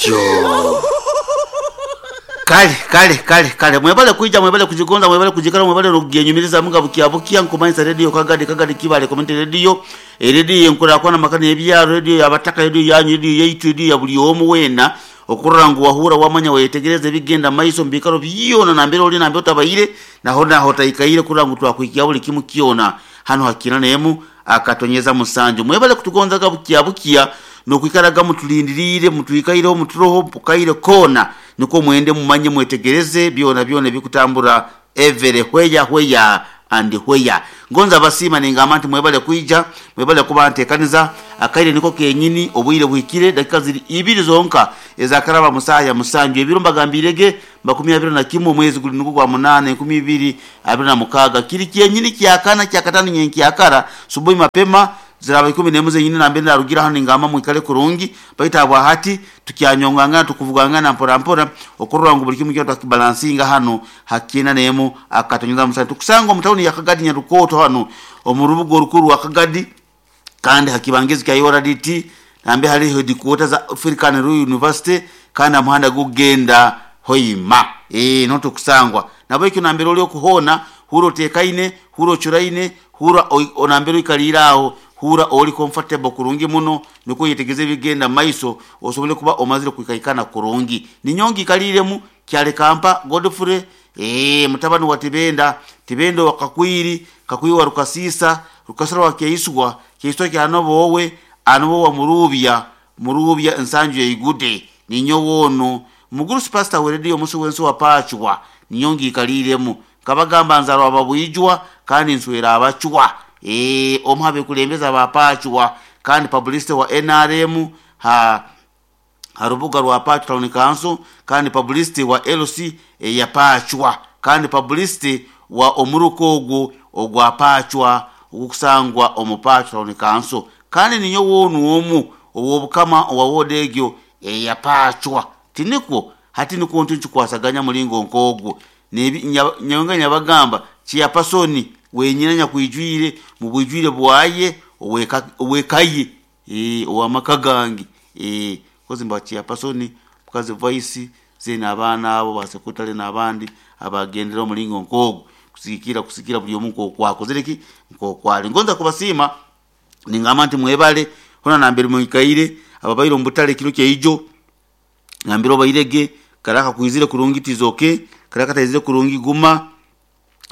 Atyo. Kale, kale, kale, kale. Mwebale kwija, mwebale kugigonza, mwebale kugikala, mwebale n'okugyenyumirizamu nga bukya bukya. Nkumanyisa Radio Kagadi, Kagadi Kibale Community Radio. Erediyo enkurakurana amaka n'ebyaro, rediyo y'abataka, rediyo yanyu, rediyo yaitu, rediyo ya buli omu weena. Okurora ngu wahuura, wamanya, wayetegereza ebigenda mu maiso omu biikaro byona nambere ori, nambere otabaire, na hoona ahotaikaire kurora ngu twakuhikyaho buli kimu kyona hanu ha Kiina n'emu akatonyeza musanju. Mwebale kutugonzaga bukya bukya n'okwikaraga mutulindiriire, mutwikaireho, muturoho kaire koona nikwo mwende mumanye mwetegereze byona byona ebikutambura every where where and where. Ngonza abasiima ningamba nti mwebale kwija, mwebale kuba ntekaniza. Akaire niko kenyini, obwire buhikire, dakika ziri ibiri zonka ezakaraba mu saaha ya musanju. Ebiro mbagambiire ge 21 omwezi guri nigwo gwa munaana 2026. Kiri kyenyini kyakana, kyakataano nyenkyakara, subuhi mapema, ziraaba ikumi n'emu zenyini nambere narugira hanu ningamba mwikale kurungi. Baitu habwahati tukyanyongangana, tukuvugangana mpora mpora okurora ngu buri kimu kyona twakibalansinga hanu ha kyenda n'emu akatonyeza musanju. Tukusanga omu tawuni ya Kagadi Nyarukooto hanu omu rubuga orukuru rwa Kagadi kandi ha kibangirizi kya URDT nambere hariho headquarter za African Royal University kandi aha muhanda gukugenda Hoima. Eeh niho tukusangwa. Nahabwekyo nambere ori oku hoona hurra oteekaine, hurra ocuraine, Hurra nambere oikaliire aho, hurra ori comfortable kurungi muno nukwo oyetegereze ebikugenda mu maiso osobole kuba omazire kwikaikana kurungi. Ninyowe ngiikaliiremu, Kyalikampa Godfrey, eeh mutabani wa Tibenda, Tibenda owa Kakwiri, Kakwiri wa Rukasiisa, Rukasira wa Kyeiswa, Kyeiswa kya Noboowe, Anobo wa Muruubya, Muruubya Nsanju Yaigude. Ninyowe onu. Mugurusi Pastor w'erediyo omusi w'ensi owa Pacwa, ninyowe ngiikaliiremu. Nkabagamba nzarwa Ababwijwa kandi nswera Abacwa. Eeh omu ha bekulembeze aba Pacwa kandi publicity wa nrm ha ha rubuga rwa Pacwa Town Council kandi publicity wa LC eya Pacwa kandi publicity wa omuruka ogwo ogwa Pacwa ogukusangwa omu Pacwa Town Council kandi ninyowe onu omu ow'obukama owa ward egyo eya Pacwa. Tinikwo? Hati nikwo ntyo nkikwasaganya muringo nk'ogwo. N'ebi nyowe nga nyabagamba, Chairperson wenyine anyakwijwire mu bwijwire bwaye ow'eka ow'eka ye, ee, ow'amaka gange, ee, kozi mba Chairperson, mukazi Vice, then abaana abo ba Secretary n'abandi abagendera omuringo nk'ogwo kusigikirra kusigikirra buri omu nk'oku akozire ki, nk'oku ari. Ngonza kubasiima ningamba nti mwebale hoona nambere mwikaire, ababaire omu butare ekiro kyaijo, Nambere obaire ge, kare akakwizire kurungi tiza oke, kare akataizire kurungi guma,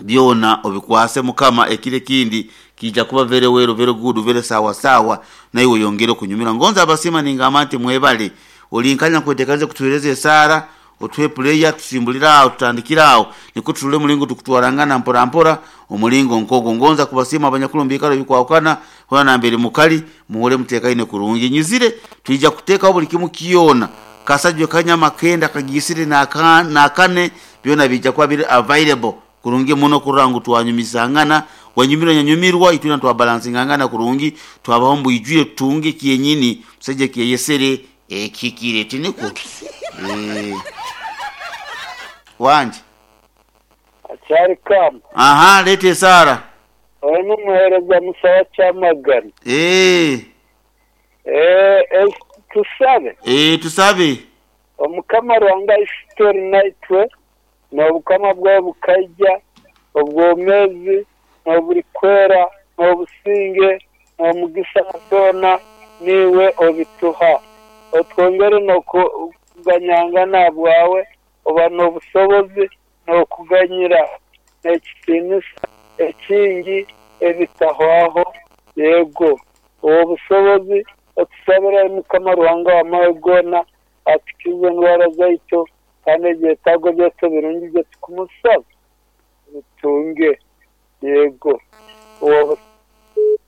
byona obikwase Mukama ekiro ekindi kiija kuba very well, very good, very sawa sawa naiwe oyongere okunyumirwa. Ngonze abasiima ningamba nti mwebale. Ori nkanya nkwetekanize kutuhereza esaara, otuhe prayer tusimbulire aho tutandikire aho nikwo turole omuringo tukutwarangana mpora mpora omuringo nkogwo. Ngonza kubasiima abanyakuru omu biikaro ebikwahukana hoona nambere mukari Muhurre muteekaine kurungi. Nyizire, twija kuteekaho buli kimu kyona. Kasajwe, kanyama, kenda, kagiisire, n'akane, byona biija kuba biri available kurungi muno kurora ngu twanyumisangana. Wanyumirwa, nyanyumirwa, itwena twabalansingangana kurungi, twabaho omu bwijwire tutunge kyenyini omusaija eki yayesere ekihikire. Tinikwo? Eeh. Wangi? Akyari kamba. Aha, leeta esaara. Oyo n'omuheereza Musa wa Kyamagana. Eeh. Eeh, tusabe. Eeh, tusabe. Omukama Ruhanga Ishitwe ori naitwe, n'obukama bwawe bukaija, obwomezi, n'oburikwera, n'obusinge, n'omugisa byona niiwe obituha. Otwongere n'okuganyangana ahabwawe, oba n'obusobozi n'okuganyira n'ekitiinisa ekingi ebitahwaho, yego, Ow'obusobozi, otusabire ai Mukama Ruhanga w'amahe goona, atukize endwara zaitu, kandi ebyetaago byaitu ebirungi bye tukumusaba tubitunge, yego, Ow'obusobozi.